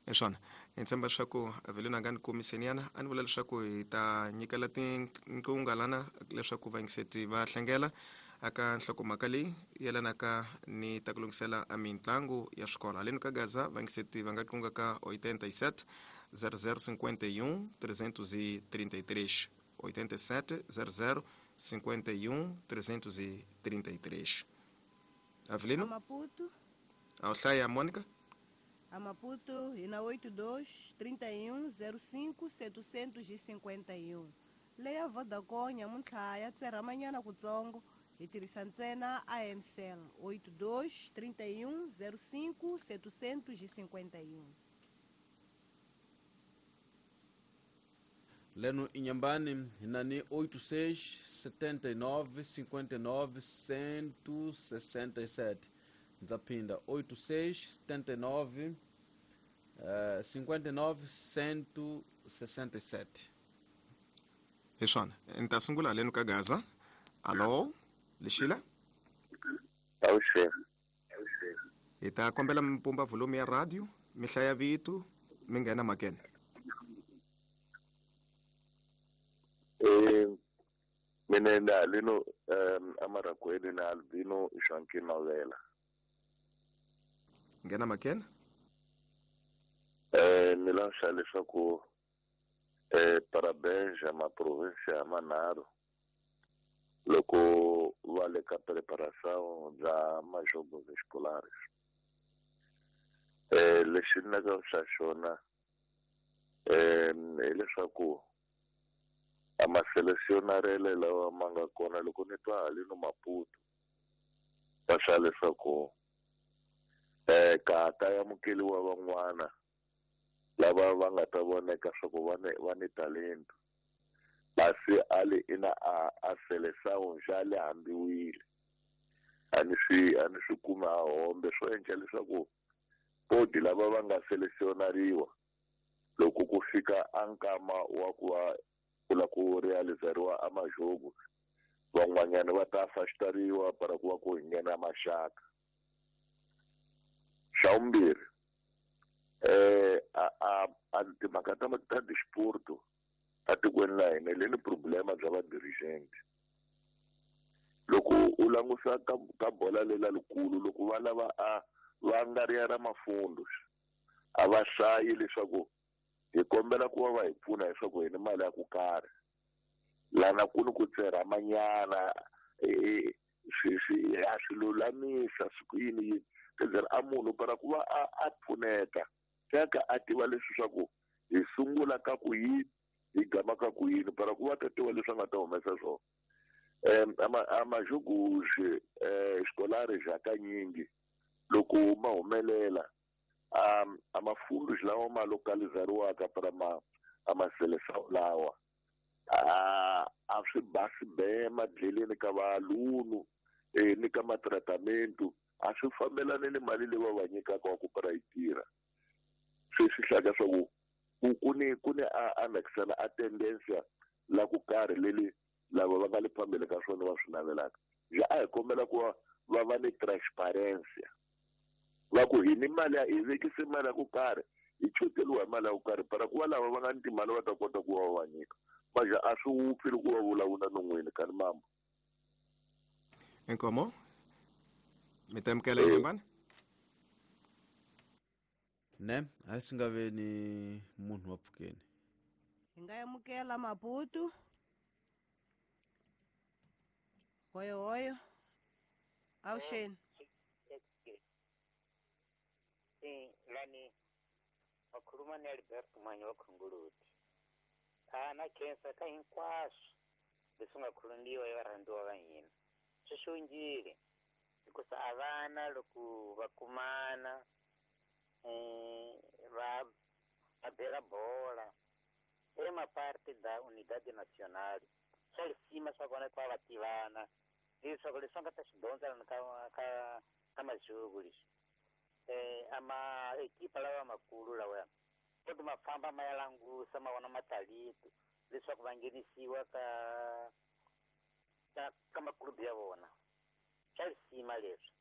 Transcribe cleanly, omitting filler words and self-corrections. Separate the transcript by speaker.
Speaker 1: Hi swona hi tshemba leswaku Avelino a nga ni komiseniana a ni vula leswaku hi ta nyikela tinqunga lana leswaku vayingiseti va hlengela aka nhlokomhaka leyi yelanaka ni ta ku lunghisela a mitlangu ya swikolo. Haleni ka Gaza vayingiseti va nga qunga ka 87 00 51 333, 87 00 51 333. Avelino?
Speaker 2: A Maputo.
Speaker 1: A wu hlaya, Monica?
Speaker 2: A Maputo hi na 82 31 05 751. Leya Vodacom nyamuntlha ya tserhamanyana kutsongo, hi tirhisa ntsena AMCell, 82 31 05 751.
Speaker 3: Leno Inhambane, Nani 86 79 59 167. Ndzaphinda 86 79 59 167.
Speaker 1: Hi swona, ni ta sungula haleni ka Gaza. Alo, Lexila?
Speaker 4: Avuxeni.
Speaker 1: Hi ta kombela mi pumba volume ya radio, mi hlaya vito, mi nghena makene.
Speaker 4: Mina ni haleno amaragweni na Albino Joaquim Mavela.
Speaker 1: Nghena makene.
Speaker 4: Ni lanxa leswaku parabéns a maprovinsia manharhu loko va le ka preparação bya majogos escolares. Lexi ni lavaka xa xona hileswaku a maselesionarele lawa ma nga kona loko ni twa haleno Maputo va swa leswaku ka ta amukeliwa van'wana lava va nga ta voneka swa ku va ni talento, kasi a le ina a seleção xa le hambiwile, a ni swi kumi a hombe swo endla leswaku podi lava va nga selesionariwa loko ku fika a nkama wa ku va ku la ku realizariwa a majogo, van'wanyana va ta afastariwa para ku va ku nghena maxaka. Xa vumbirhi, a timhaka ta disporto atikweni la hina le ni problema bya va dirigent. Loko u langusa ka bola lela likulu, loko va lava a va nga ri ya ra mafundo, a va hlayi leswaku hi kombela ku va va hi pfuna leswaku hi ni mali ya ku karhi lana ku ni ku tserhamanyana, swi a swi lulamisa swi ku yini yini kezera a munhu para ku va a pfuneta teka a tiva leswi swa ku hi sungula ka ku yini hi gama ka ku yini para ku va ta tiva leswi a nga ta humesa swona. A majoguxe xikolari hakanyingi loko ma humelela a mafundu lawa ma localizariwaka para ma a maselesa lawa a swi basi be madleleni ka valunu ni ka matratamento a swi fambelani ni mali leyi va va nyikaka wa ku para yi tirha. Swi swi hlaka swa ku ku ni a nakisana a tendensia la ku karhi leli lava va nga le phambili ka swona va swi navelaka. Ja a hi kombela ku va va ni transparency, va ku hi ni mali ya hi vekise mali ya ku karhi hi choteliwa hi mali ya ku karhi para ku va lava va nga ni timali va ta kota ku va va nyika. Maja a swi wupfi loko va vulavula non'wini ka ni mamba.
Speaker 1: Inkomo mi ta amukela Inhambane?
Speaker 3: Ne a swi nga ve ni munhu wa pfukeni.
Speaker 2: Hi nga amukela Maputo. Hoyo hoyo. Avuxeni.
Speaker 5: Lani wakhuluma ni Alberto Mwanyi wa Khunguluti. Na khensa ka hinkwaswo leswi nga khulundiwa hi varhandziwa va hina. Swi xongile hikusa a vana loko va kumana va bela bola e maparte da Unidade Nacional. Swa lisima swa kona ku va va tivana leswaku leswi va nga ta swi dyondza lani ka majuku leswi. Ama ekipa lawa makulu lawa koti ma famba ma ya langusa ma vona matalento leswaku va nghenisiwa ka makulubu ya vona. Swa lisima leswi.